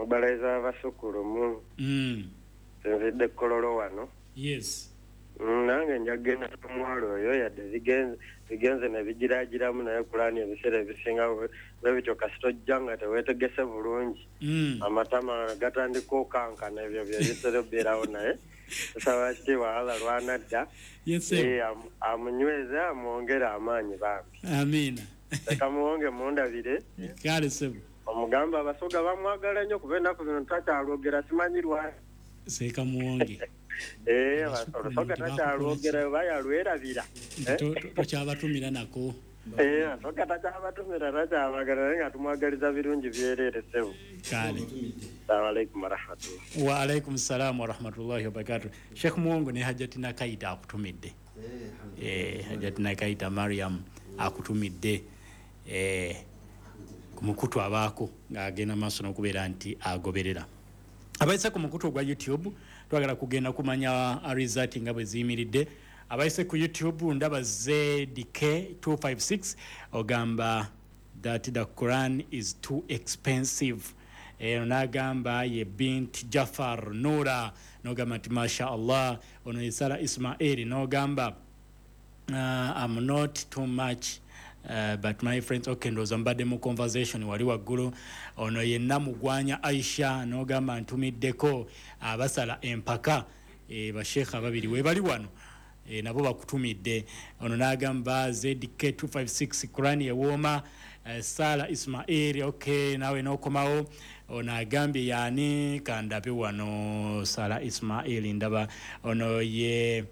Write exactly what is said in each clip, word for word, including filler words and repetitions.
Mobilizer abasukulumu. Mm. Nzidde Kololo wano. Yes. Nange njagenda omwalo oyo yadde zigenze zigenze ne bigiragiramu, naye Kulaani ebiseera ebisinga bwe bityo kasita ojja nga teweetegese bulungi. Mm. Amatama gatandika okankana, ebyo bye bitera obeerawo, naye tusaba kitiibwa Allah lwanadda. Yes, sir. Eh, amu-, amunyweze, amwongere amaanyi bambi. Amiina. Leka muwonge mundabire. Kale ssebo. Omugamba Abasoga bamwagala nnyo kuba ennaku zino takyalwogera, simanyi lwaki. Seeka Muwonge. Eh, Abasukulu Olusoga nti bakukola takyalwogera, ki? oba yalwerabira. Nti to-, to-, tokyabatumira nako. Eh, Abasoga takyabatumira, takyabagala, naye nga tumwagaliza birungi byereere ssebo. Kale. Assalamu alaikum warahmatullah. Wa alaikum salam warahmatullahi wabarakatuh. Sheikh Muwonge ne Hajjati Nakaita akutumidde. Eh, Hajjati Nakaita Mariam akutumidde. Eh, ku mukutu abaako ng'agenda maaso n'okubeera nti agoberera. Abayise ku mukutu ogwa YouTube twagala kugenda kumanya result nga bwe ziyimiridde. Abayise ku YouTube ndaba Z D K two five six ogamba that the Quran is too expensive. Eh, n'agamba ye Bint Jafar Nura, n'ogamba nti masha Allah. Ono ye Sara Ismail, n'ogamba, uh, I'm not too much, Uh, but my friends, okay, ndowooza mbadde mu conversation wali waggulu. Ono ye Namugwanya Aisha, n'ogamba ntumiddeko abasala empaka, e, basheikh ababiri we bali wano, e, nabo bakutumidde. Ono n'agamba Z D K two five six Quran ewooma. E, Sara Ismail, okay, nawe n'okomawo. Ono agambye yaani kandabe wano Sara Ismail ndaba. Ono ye,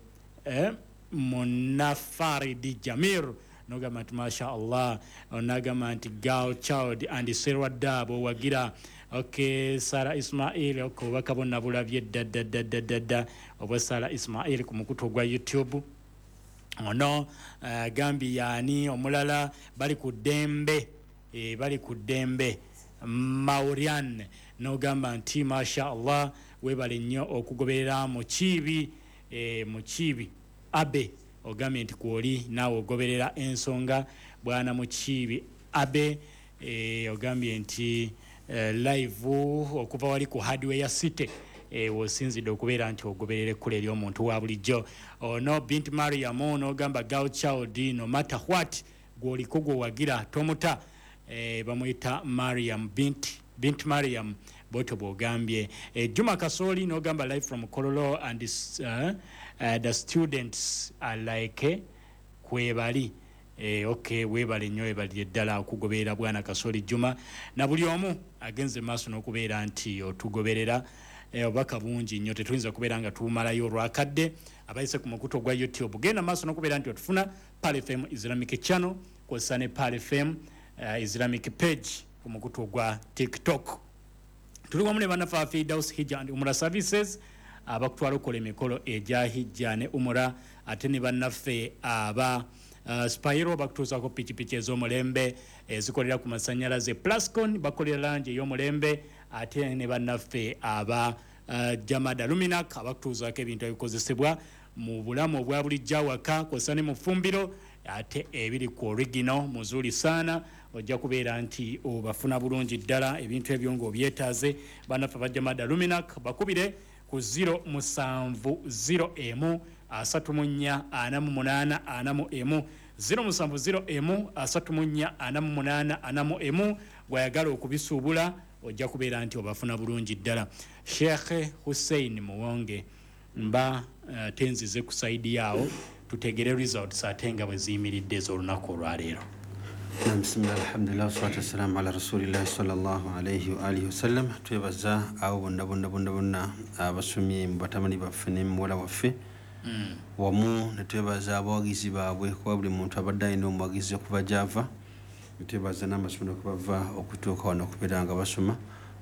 eh, Munafaridi Jamir, nogamba nti masha Allah. Onagamba nti girl child and Serwadda bwowagira. Okay, Sara Ismail, okay, obubaka bwonna bulabye dda, dda, dda, dda, dda, dda. Obwa Sara Ismail ku mukutu ogwa YouTube. Ono, eh, gambye yaani omulala bali ku ddembe, eh, bali ku ddembe Maurian, nogamba nti masha Allah, weebale nnyo okugoberera Mukiibi, eh, Mukiibi Abe, ogambye nti kwoli naawe ogoberera ensonga bwana Mukiibi Abe, eh, ogambye nti, eh, live okuva wali ku Hardware City, eh, wosinzidde okubeera nti ogoberera ekkula ery'omuntu wa bulijjo. Ono Bint Mariam n'ogamba girl child no matter what, gw'oliko gw'owagira tomuta, eh, bamuyita Mariam Bint, Bint Mariam bw'otyo bw'ogambye. Eh, Juma Kasoli n'ogamba live from Kololo and, uh, uh, the students are like kwebali. Eh, okay, weebale nnyo, weebalire ddala okugoberera bwana Kasoli Juma na buli omu agenze maaso n'okubeera nti otugoberera. Eh, obubaka bungi nnyo tetuyinza kubeera nga tumalayo olwakadde. Abayise ku mukutu ogwa YouTube genda maaso n'okubeera nti otufuna Pearl F M Islamic Channel kw'ossa ne Pearl F M, eh, Islamic Page ku mukutu ogwa TikTok. Tuli wamu ne bannaffe aba Firdaus Hijja and Umrah Services abakutwala okukola emikolo egya Hijja ne Umrah, ate ne bannaffe aba, uh, Spiro bakutuusaako pikipiki ez'omulembe ezikolera ku masannyalaze, Plascon bakolera langi ey'omulembe, ate ne bannaffe aba, uh, Jamada Luminac abakutuusaako ebintu ebikozesebwa mu bulamu obwa bulijjo awaka kw'ossa ne mu ffumbiro, ate ebiri ku original muzuri sana, ojja kubeera nti obafuna bulungi ddala ebintu ebyo ng'obyetaaze. Bannaffe aba Jamada Luminac bakubire ku zero musanvu zero emu asatu mu nnya ana mu munaana ana mu emu, zero musanvu zero emu asatu mu nnya ana mu munaana ana mu emu. Bw'ayagala okubisuubula ojja kubeera nti obafuna bulungi ddala. Sheikh Hussein Muwonge mba, eh, tenzize ku saidi yaawo tutegere results ate nga bwe ziyimiridde ez'olunaku olwaleero. Naam, bismillah, alhamdulillah, wassalatu wassalamu ala rasulillahi sallallahu alayhi wa alihi wasallam. Twebaza abo bonna bonna bonna bonna abasomye mu batabani baffe ne muwala waffe. Mm. Wamu ne twebaza abawagizi baabwe kuba buli muntu abadde alina omuwagizi okuva gy'ava. Ne twebaza n'amasomero kwe bava okutuuka wano okubeera nga basoma.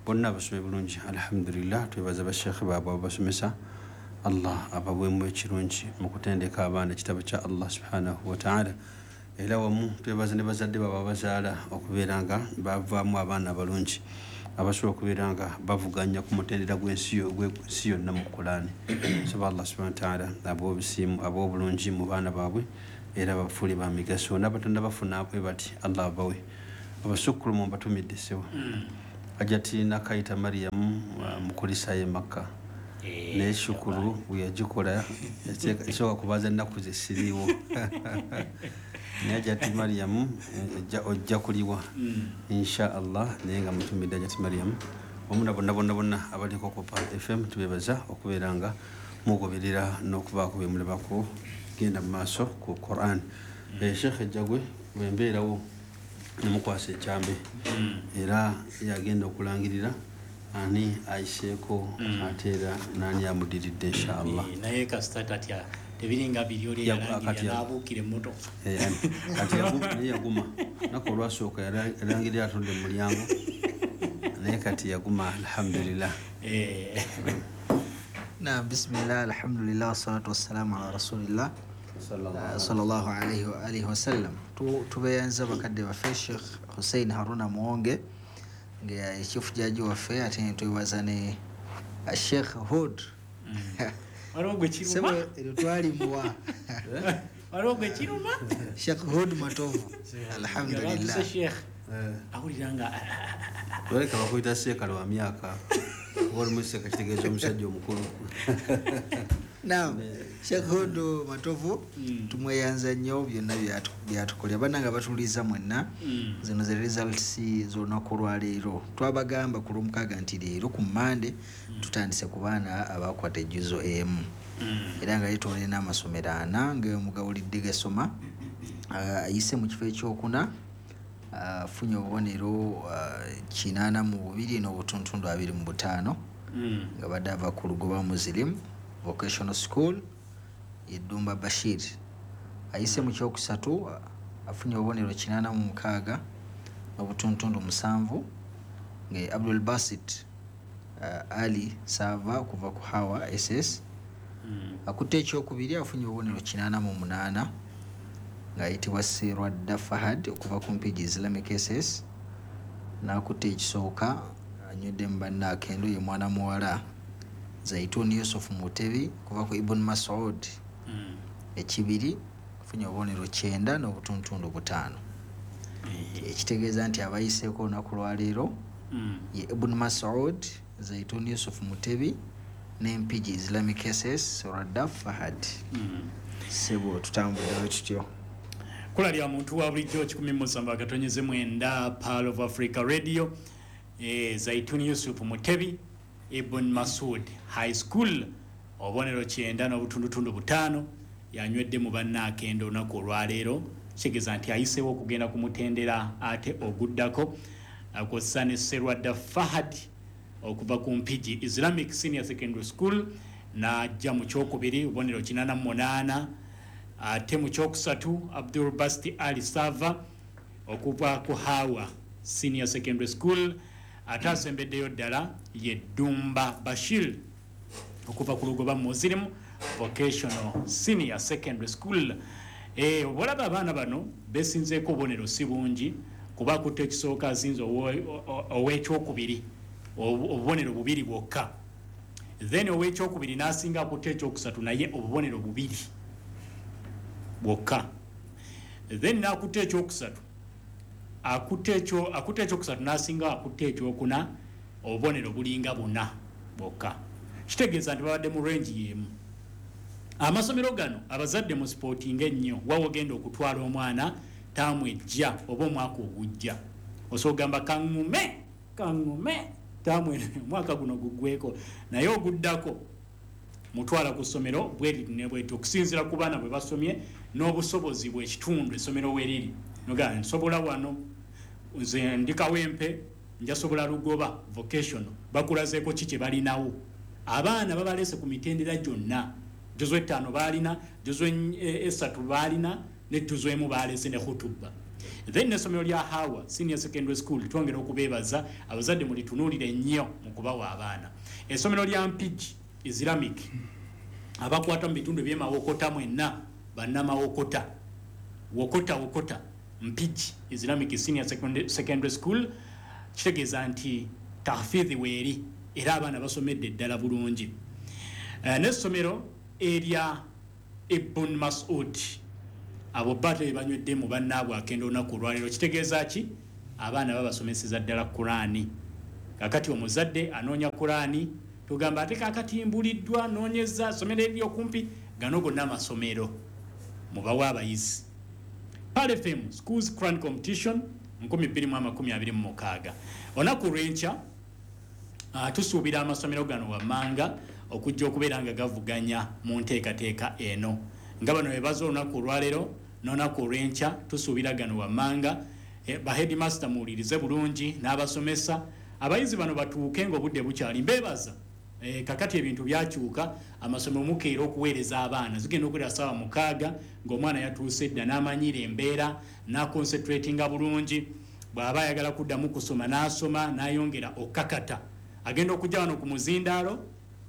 Bonna abasomye bulungi, alhamdulillah. Twebaza basheekhe baabwe ababasomesa. Allah abaweemu ekirungi mu kutendeka abaana ekitabo kya Allah subhanahu wa ta'ala. Era wamu twebaza ne bazadde baabwe abazaala okubeera nga bavaamu abaana abalungi abasobola okubeera nga bavuganya ku mutendera gw'ensi yo-, gw'ensi yonna mu Kulaani. Nsaba Allah subhanahu wa ta'ala abawe obusiimu, abawe obulungi mu baana baabwe era bafuule ba migaso. N'abatonda bafuna bwe bati Allah abawe. Abasukkulumu mbatumidde ssebo. Mm. Hajati Nakaita Mariam mukulisa ye Makka naye shukuru bwe yagikola esooka kubaza ennaku ze siriiwo, naye Hajati Mariam ojja kuliwa insha Allah. Naye nga mutumidde Hajati Mariam wamu na bonna bonna bonna abaliko ku Pearl F M, tubebaza okubeera nga mugoberera n'okubaako bye mulabako genda mu maaso ku Quran. Sheikh Ejjagwe bwembeerawo nemukwasa ekyambe, era yagenda okulangirira ani ayiseeko ate era nani amudiridde inshallah. Naye kasita tatya, tebiringa biri oli yalangirira n'abuukira emmotoka. Kati naye yaguma naku olwasooka yalangirira atudde mu mulyango, naye kati yaguma, alhamdulillah. Naam, bismillah, alhamdulillah, wassalatu wassalamu ala rasulillah sallallahu alaihi wa alihi wasallam. Tubeyanza bakadde baffe Sheikh Hussein Haruna Muwonge nga chief judge waffe, ate netwebaza ne Sheikh Hud. Waliwo gwe kiruma, eryo twalimuwa. Waliwo gwe kiruma. Sheikh Hud Matovu, alhamdulillah. Sheikh awulira nga Baleka bakuyita seekale wa myaka, oba olimu seeka kitegeeza omusajja omukulu. Naam, Sheikh Hud Matovu tumweyanza nnyo byonna byatukolera. Bannanga batuliza mwenna, zino ze results z'olunaku olwaleero. Twabagamba ku Lwomukaaga nti leero ku Mmande tutandise ku baana abakwata ejjuzo emu, era nga yetwalire n'amasomero ana nga mugawulidde gasoma. Ayise mu kifo ekyokuna afunye obubonero kinaana mu bubiri n'obutuntundu abiri mu butaano, nga badde ava ku Lugoba Muslim Vocational School, Yeddumba Bashir. Ayise mu kyokusatu afunye obubonero kinaana mu mukaaga n'obutuntundu musanvu, nga Abdul Basit uh, Ali Sava okuva ku Hawa S S. Akutte ekyokubiri afunye obubonero kinaana mu munaana, ng'ayitibwa Serwadda Fahad okuva ku Mpigi Islamic S S. N'akutte ekisooka anywedde mu banne akendo, ye mwana muwala Zaituni Yusuf Mutebi okuva ku Ibn Masud ekibiri, afunye obubonero kyenda n'obutuntundu butaano, ekitegeeza nti abayiseeko olunaku lwaleero ye Ibn Masud, Zaituni Yusuf Mutebi ne Mpigi Islamic S S, Serwadda Fahad. Sebo, tutambuddewo kityo. Kula lya muntu wa bulijjo kikumi musanvu akatonyeze mwenda, Pearl of Africa Radio. e, Zaituni Yusuf Mutebi, Ibn Masud High School, obubonero kyenda n'obutundutundu butaano, yanywedde mu bannaakendo olunaku olwaleero, kitegeeza nti ayiseewo okugenda ku mutendera ate oguddako, kwossa ne Serwadda Fahad okuva ku Mpigi Islamic Senior Secondary School, n'ajja mu kyokubiri obubonero kinaana mu munaana. Ate mu kyokusatu Abdul Basti Ali Sava okuva ku Hawa Senior Secondary School. Ate asembeddeyo ddala ye Ddumba Bashir okuva ku Lugoba Muslim Vocational Senior Secondary School. Eh, olaba abaana bano besinzeeko obubonero si bungi, kuba akutte ekisooka asinze ow'ekyokubiri obubonero bubiri bwokka, then ow'ekyokubiri n'asinga akutte ekyokusatu naye obubonero bubiri bwokka, then n'akutte ekyokusatu akutte ekyo akutte ekyokusatu n'asinga akutte ekyokuna obubonero bulinga buna bwokka. Kitegeeza nti babadde mu range y'emu. Amasomero gano abazadde mu supportinga ennyo. Wawe ogenda okutwala omwana taamu ejja oba omwaka ogujja, osobola ogamba kaŋŋume kaŋŋume taamu eno omwaka guno guggweko, naye oguddako mutwala ku ssomero bweriti ne bweti, okusinziira ku baana bwe basomye n'obusobozi bw'ekitundu essomero weriri. Nogaa nsobola wano, nze ndi Kawempe, njasobola Lugoba Vocational. Bakulazeeko ki kye balinawo? Abaana babaleese ku mitendera gyonna. Juzu ettaano baalina, juzu esatu baalina, ne juzu emu baleese ne khutuba. Then n'essomero lya Hawa Senior Secondary School, twongera okubeebaza. Abazadde mulitunuulire nnyo mu kubawa abaana. Essomero lya Mpigi Islamic, abakwata mu bitundu ebyemawokota mwenna, bannamawokota, wokota wokota, Mpigi Islamic Senior Secondary School, kitegeeza nti tahfidhi weeri era abaana basomedde ddala bulungi. uh, n'essomero erya Ibn Masud, abo bate banywedde mu bannaabwe akenda olunaku olwaleero. Kitegeeza ki? Abaana babasomeseza ddala Kurani. Kakati omuzadde anoonya Kurani, tugamba ate kakati mbuliddwa noonyeza somero eriri okumpi, gano gonna amasomero mubawe abayizi. Pearl F M Schools Quran Competition nkumi bbiri mu amakumi abiri mu mukaaga. Olunaku lw'enkya uh, tusuubira amasomero gano wammanga okujja okubeera nga gavuganya mu nteekateeka eno. Nga bano bebaza olunaku olwaleero n'olunaku olw'enkya tusuubira gano wammanga. E, ba headmaster muwulirize bulungi n'abasomesa, abayizi bano batuuke ng'obudde bukyali. Mbeebaza e, kakati ebintu byakyuka, amasomero mukeera okuweereza abaana, zigenda okuwera ssaawa mukaaga ng'omwana yatuuse dda n'amanyira embeera n'aconcentratinga bulungi. Bw'aba ayagala kuddamu kusoma n'asoma n'ayongera okakata, agenda okujja wano ku muzindaalo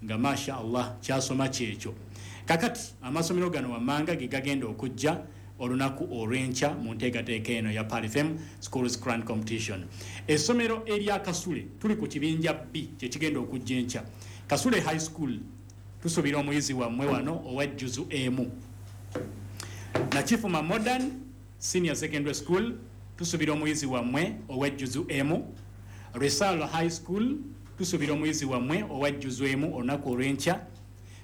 nga masha Allah kyasoma kyekyo. Kakati amasomero gano wammanga ge gagenda okujja olunaku olw'enkya mu nteekateeka eno ya Pearl F M Schools Quran Competition. Essomero erya Kasule tuli ku kibinja B kye kigenda okujja enkya. Kasule High School tusuubira omuyizi wammwe wano owa juzu emu. Nakifuma Modern Senior Secondary School tusuubira omuyizi wammwe owa juzu emu. Resalo High School tusuubira omuyizi wammwe owa juzu emu olunaku olw'enkya.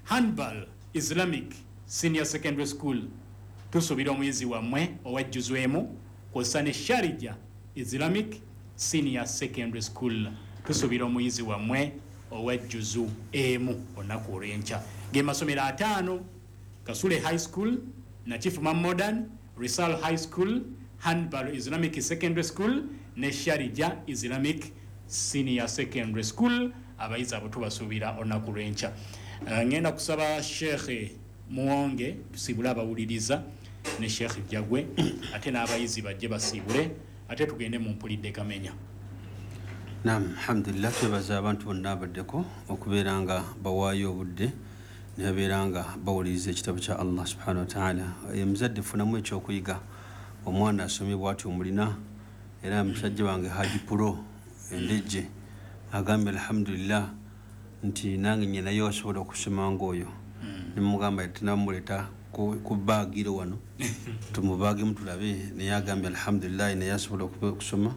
Hanbal Islamic Senior Secondary School tusuubira omuyizi wammwe owa juzu emu, kw'ossa ne Sharija Islamic Senior Secondary School tusuubira omuyizi wammwe owa juzu emu olunaku olw'enkya. Ge masomero ataano: Kasule High School, Nakifuma Modern, Risal High School, Hanbal Islamic Secondary School ne Sharija Islamic Senior Secondary School. Abayizi abo tubasuubira olunaku lw'enkya. Uh, ngenda kusaba Sheikh Muwonge tusiibule abawuliriza ne Sheikh Jagwe, ate n'abayizi bajje basiibule, ate tugende mu mpulidde kamenya. Naam, alhamdulillah, twebaza abantu bonna abaddeko okubeera nga bawaayo obudde ne babeera nga bawuliriza ekitabo kya Allah subhanahu wa ta'ala. Omuzadde funamu ekyokuyiga, omwana asomye bw'atyo omulina. Era musajja wange Haji Puro Endejje agambye alhamdulillah nti nange nnyinayo asobola okusoma ng'oyo. Nemugamba tenamuleeta ku baagiro wano tumubaagemu tulabe, naye agambye alhamdulillah naye asobola okusoma.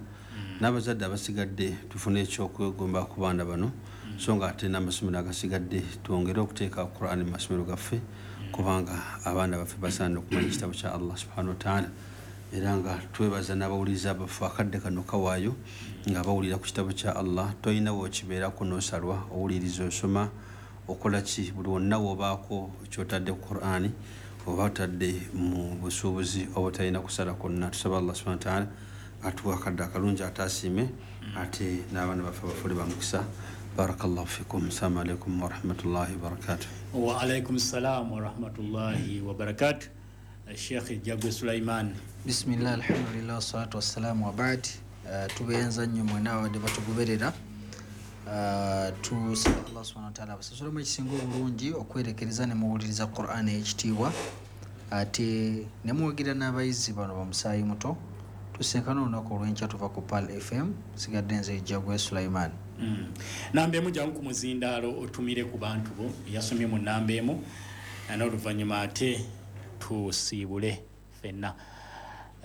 N'abazadde abasigadde tufune ekyokwegomba ku baana bano, so nga ate n'amasomero agasigadde twongere okuteeka Qur'an mu masomero gaffe, kubanga abaana baffe basaana okumanya ekitabo kya Allah subhanahu wa ta'ala. Era nga twebaza n'abawuliriza abaffe akadde kano kawaayo nga bawulira ku kitabo kya Allah. Tolina w'okibeerako n'osalwa, owuliriza, osoma, okola ki, buli wonna w'obaako ky'otadde ku Qur'ani oba otadde mu busuubuzi oba otalina kusala kwonna. Tusaba Allah subhanahu wa ta'ala atuwa akadde akalungi ataasiime, ate n'abaana baffe bafuule ba mukisa. Barakallahu fikum. Assalamu alaikum warahmatullahi wabarakatuh. Wa alaikum salam warahmatullahi wabarakatuh. Sheikh Jagwe Sulaiman. Bismillah, alhamdulillah, wassalatu wassalamu wa ba'd. Uh, tubeyanza nnyo mwena abadde batugoberera. Uh, tusaba Allah subhanahu wa ta'ala abasasulemu ekisinga obulungi okwerekereza ne muwuliriza Qur'an ey'ekitiibwa, ate ne muwagira n'abayizi bano bamusaayi muto. Tusinkane olunaku olw'enkya tuva ku Pearl F M. Sigadde nze Jagwe Sulaiman. Mm. Namba emu jangu ku muzindaalo otumire ku bantu bo yasomye mu namba emu, n'oluvannyuma ate tusiibule ffenna.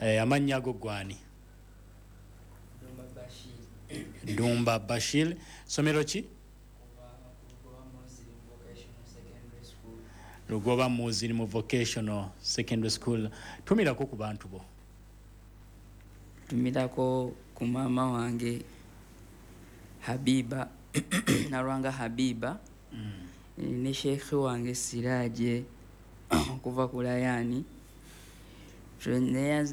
Eh, amannya go gwani? Dumba Bashir. Dumba Bashir. Somero ki? Lugoba Muslim Vocational Secondary School. Tumirako ku bantu bo. Tumirako ku maama wange Habiba Nalwanga Habiba, mm. ne Sheikh wange Siraje okuva ku Layani.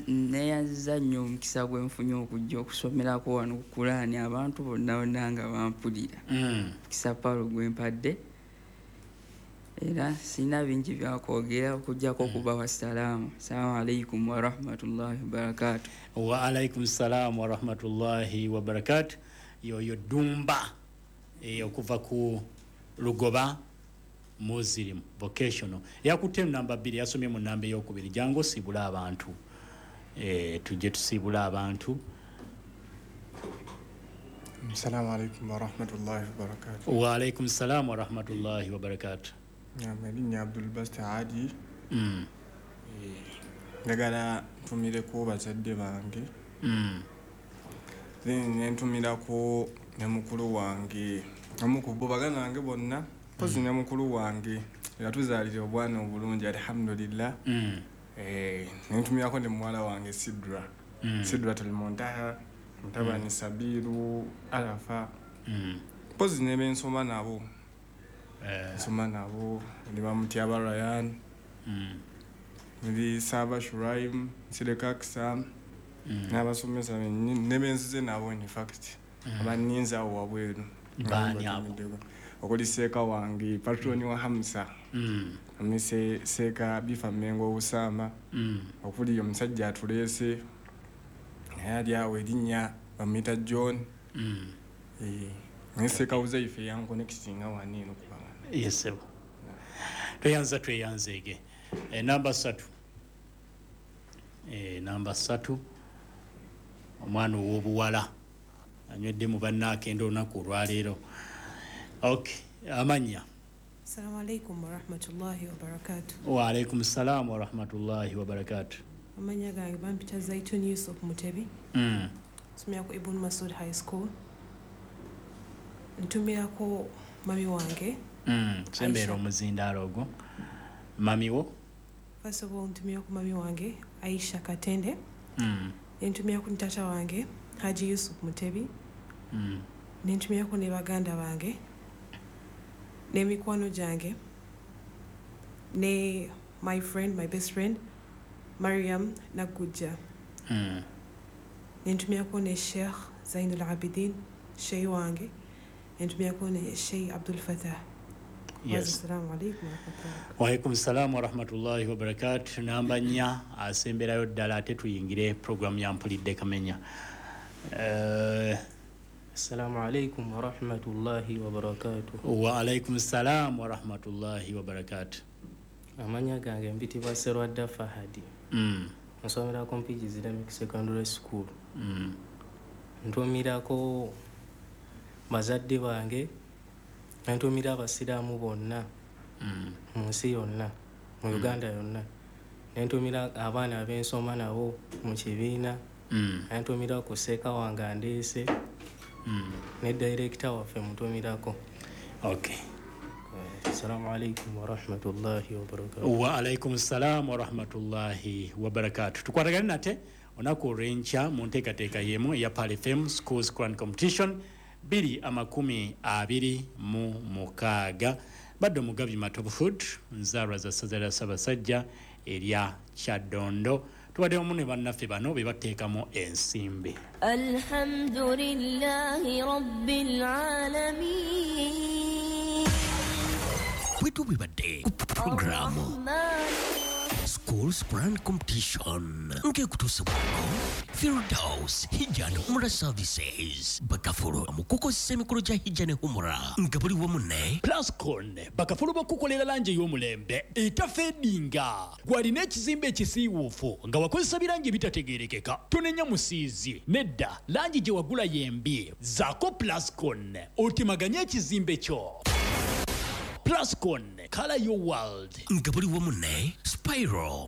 Neyanziza nnyo omukisa gwe nfunye okujja okusomerako wano ku Kulaani, abantu bonna bonna nga bampulira. Mukisa Paulo gwe mpadde, era sirina bingi byakwogera okuggyako okubawa salaamu. Assalamu alaikum warahmatullahi wabarakatuh. Wa alaikum salaam warahmatullahi wabarakatuh. Yoyo Dumba e, okuva ku Lugoba Muslim Vocational. Yakutte namba bbiri, yasomye mu namba ey'okubiri. Jangu osibule abantu, e, tujje tusibule abantu. Assalamu alaikum warahmatullahi wabarakatuh. Wa alaikum salam warahmatullahi wabarakatuh. Naam, erinnya Abdul Basti Adi. Mm. Njagala ntumireko bazadde bange. Mm. Then ne ntumirako Ne mukulu wange omu ku bo baganda bange bonna mpozi ne mukulu wange yatuzaalira obwana obulungi alhamdulillah. Mm. Eh, nentumirako ne muwala wange Sidra. Mm. Sidratul Muntaha, mutabani mm. Sabiru Arafa. Mm. Mpozi ne bensoma nabo. Eh. Nsoma nabo ne bamutyaba Ryan. Mm. Ndi Saba Shuraim, Sireka Ksam. Mm. N'abasomesa ne benzize nabo in fact. Mm. Abanninza awo wabweru. Baani abo? Okuli seeka wange patroni wa Hamsa. Mm. Amise seeka bifa Mengo Usama. Mm. Okuli omusajja atuleese naye ali awo erinnya bamuyita John. Mm. Eh, naye seeka Uzaife yankonectinga wano eno kubanga. Yes, sir. Tweyanza tweyanzeege. E, namba ssatu. E, namba ssatu omwana ow'obuwala anywedde mu bannaakenda olunaku olwaleero. Okay, amannya. Assalamu alaikum warahmatullahi wabarakatuh. Wa alaikum salam warahmatullahi wabarakatuh. Amannya gange bampita Zaitun Yusuf Mutebi. Mm. Nsomera ku Ibn Masud High School. Ntumirako mami wange. Mm. Sembeera omuzindaalo ogwo. Mami wo? First of all, ntumirako mami wange Aisha Katende. Mm. Nentumirako ne tata wange Haji Yusuf Mutebi. Mm. Nentumirako ne baganda bange n'emikwano gyange ne my friend, my best friend Mariam Nagujja. Mm. Nentumirako ne Sheikh Zainul Abidin, sheikh wange. Nentumirako ne Sheikh Abdul Fatah. Yes. Assalamu alaikum warahmatullahi. Wa alaikum salam warahmatullahi wabarakatuh. Namba nnya asemberayo ddala ate tuyingire program ya Mpulidde Kamenya. Uh, Assalamu alaikum warahmatullahi wabarakatuh. Wa alaikum salam warahmatullahi wabarakatuh. Amanya gange mpitibwa Serwadda Fahadi. Mm. Nsomera Mpigi Islamic Secondary School. Mm. Ntumirako bazadde bange, ntumira abasiraamu bonna mm. mu nsi yonna, mu mm. Uganda yonna. Nentumira abaana ab'ensoma nabo mu kibiina. Mm. Nentumira ku seeka wange andeese. Mm. Ne director waffe mutumirako. Okay. Assalamu alaikum warahmatullahi wabarakatuh. Wa alaikum salam warahmatullahi wabarakatuh. Tukwatagane nate olunaku olw'enkya mu nteekateeka y'emu eya Pearl F M Schools Quran Competition bbiri amakumi abiri mu mukaaga. Badde omugabi Matovu Food nzaalwa za ssaza lya Ssaabasajja erya Kyaddondo. Tubadde wamu ne bannaffe bano be bateekamu ensimbi. Alhamdulillahi rabbil alamin. Bwe tubibadde ku programu Schools Quran Competition ng'ekutuusibwako Firdaus Hijja and Umrah Services bakafulu mu kukozesa emikolo gya Hijja ne Umrah nga buli wamu ne Plascon bakafulu bakukolera langi ey'omulembe etafeedinga. Gwalina ekizimbe ekisiiwuufu nga wakozesa birangi ebitategeerekeka tonenya musiizi nedda langi gye wagula yembi zaako Plascon otemaganye ekizimbe kyo. Plascon, color your world. Nga buli wamu ne Spiral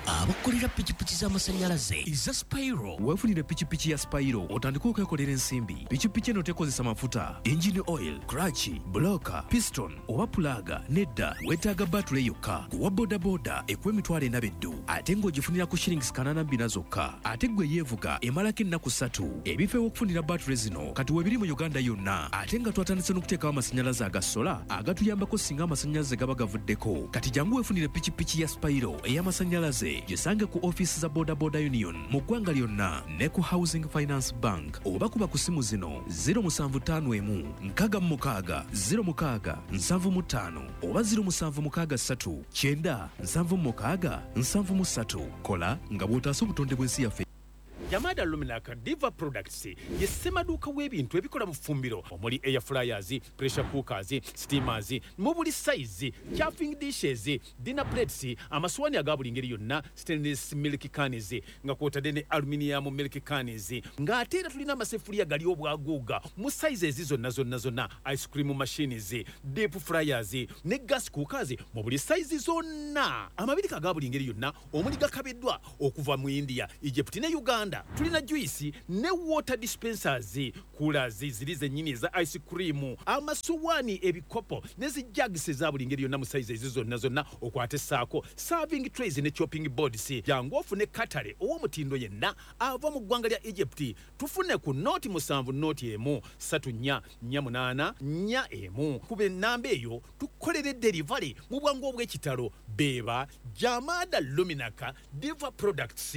abakolera pikipiki z'amasannyalaze eza Spiro. Weefunire pikipiki ya Spiro otandike okwekolera ensimbi. Pikipiki eno tekozesa mafuta, engine oil, clutch, bloka, piston oba pulaga. Nedda, weetaaga batule yokka. Kuwa bodaboda ekuwa emitwalo ena beddu ate ng'ogifunira ku shillings kanaana bbina zokka. Ate ggwe yeevuga emalako ennaku ssatu. Ebifo ew'okufunira batule zino kati weebiri mu Uganda yonna ate nga twatandise n'okuteekawo amasannyalaze aga sola agatuyambako singa amasannyalaze gaba gavuddeko. Kati jangu weefunire pikipiki ya Spiro ey'amasannyalaze gisange ku office za Boda Boda Union mu ggwanga lyonna ne ku Housing Finance Bank oba kuba ku simu zino zero musanvu ttaano emu nkaaga mu mukaaga zero mukaaga nsanvu mu ttaano oba zero musanvu mukaaga ssatu kyenda nsanvu mu mukaaga nsanvu mu ssatu. Kola nga bw'otaasa obutonde bw'ensi yaffe. Jamada Luminaka Diva Products ye ssemaduuka w'ebintu ebikola mu ffumbiro omuli air fryers, pressure cookers, steamers, mu buli size, chafing dishes, dinner plates, amaswani aga buli ngeri yonna, stainless milk cans nga kwotadde ne aluminium milk cans, ng'ate era tulina amaseffuliya gali obwaguuga mu sizes zonna zonna zonna, ice cream machines, deep fryers ne gas cookers mu buli size zonna, amabirika aga buli ngeri yonna omuli gakabiddwa okuva mu India, Egypt ne Uganda. Soda, tulina juice ne water dispensers, coolers ziri zennyini eza ice cream, amasowaani, ebikopo ne zi jugs eza buli ngeri yonna mu size ezo zonna zonna, okwate saako serving trays ne chopping boards. Jangu ofune katale ow'omutindo yenna ava mu ggwanga lya Egypt. Tufune ku noti musanvu noti emu ssatu nnya nnya munaana nnya emu. Kuba ennamba eyo tukolere delivery mu bwangu obw'ekitalo. Beeba Jamada Luminaka Diva Products.